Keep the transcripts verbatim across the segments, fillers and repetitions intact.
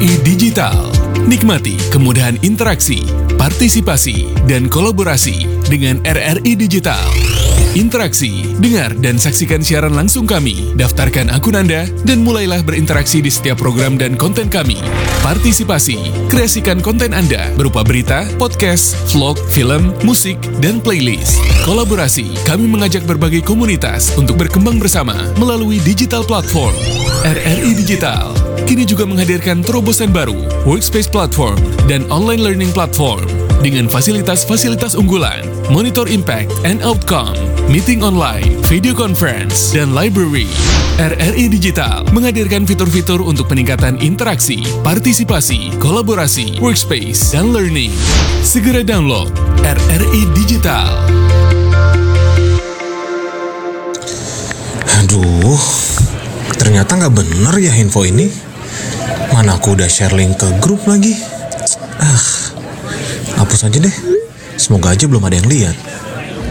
Digital. Nikmati kemudahan interaksi, partisipasi, dan kolaborasi dengan R R I Digital. Interaksi, dengar dan saksikan siaran langsung kami. Daftarkan akun Anda dan mulailah berinteraksi di setiap program dan konten kami. Partisipasi, kreasikan konten Anda berupa berita, podcast, vlog, film, musik, dan playlist. Kolaborasi, kami mengajak berbagai komunitas untuk berkembang bersama melalui digital platform. R R I Digital kini juga menghadirkan terobosan baru, Workspace Platform dan Online Learning Platform, dengan fasilitas-fasilitas unggulan, Monitor Impact and Outcome, meeting online, video conference, dan library. R R I Digital menghadirkan fitur-fitur untuk peningkatan interaksi, partisipasi, kolaborasi, workspace, dan learning. Segera download R R I Digital. Aduh, ternyata nggak bener ya info ini. Mana aku udah share link ke grup lagi. Ah, hapus aja deh. Semoga aja belum ada yang lihat.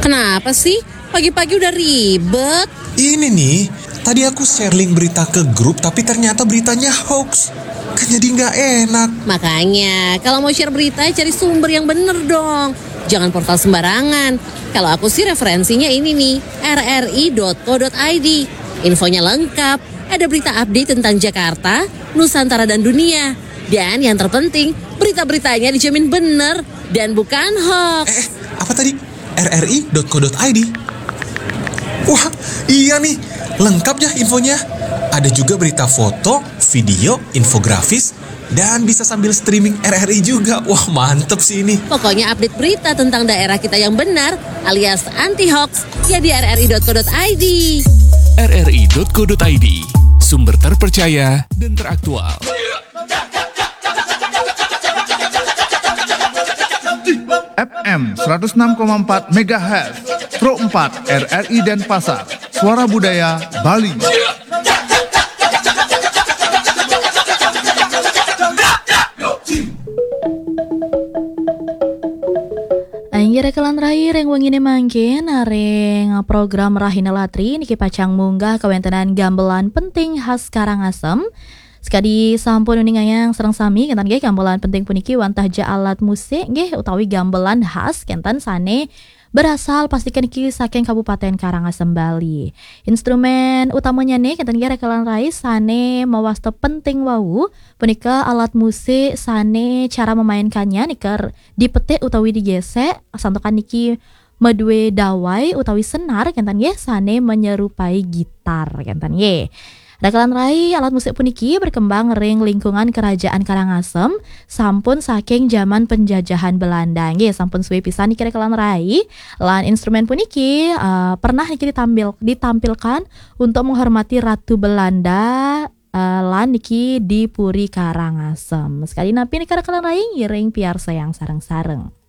Kenapa sih? Pagi-pagi udah ribet. Ini nih, tadi aku share link berita ke grup tapi ternyata beritanya hoax. Kan jadi nggak enak. Makanya, kalau mau share berita, cari sumber yang bener dong. Jangan portal sembarangan. Kalau aku sih referensinya ini nih, R R I dot co dot I D. Infonya lengkap, ada berita update tentang Jakarta, Nusantara dan dunia. Dan yang terpenting, berita-beritanya dijamin bener dan bukan hoax. Eh, apa tadi? R R I dot co dot I D. Wah, iya nih, lengkap ya infonya. Ada juga berita foto, video, infografis, dan bisa sambil streaming R R I juga. Wah, mantep sih ini. Pokoknya update berita tentang daerah kita yang benar alias anti hoax ya di R R I dot co dot I D. R R I dot co dot I D, sumber terpercaya dan teraktual. F M seratus enam koma empat megahertz, Pro empat R R I Denpasar, Suara Budaya Bali. Inggih rekelan rai, ring wengine mangkin ring program Rahina Latri niki pacang munggah kawentenan gamelan penting khas Karangasem. Sekadi sampun uningayang sareng sami kenten nggih gamelan penting puniki wantah ja alat musik nggih utawi gamelan khas kenten sane berasal pastikan niki saking Kabupaten Karangasem Bali. Instrumen utamanya nih kenten nggih rekelan rai sane mawasta penting wau punika alat musik sane cara memainkannya niker dipetik utawi digesek santukan niki madue dawai utawi senar kenten nggih sane menyerupai gitar kenten nggih. Rekelan rai alat musik puniki berkembang ring lingkungan kerajaan Karangasem sampun saking zaman penjajahan Belanda nggih sampun suwe pisan niki rekelan rai lan instrumen puniki uh, pernah niki ditampil, ditampilkan untuk menghormati Ratu Belanda uh, lan niki di Puri Karangasem. Sekadi napi niki rekelan rai ngiring piarsayang sareng-sareng.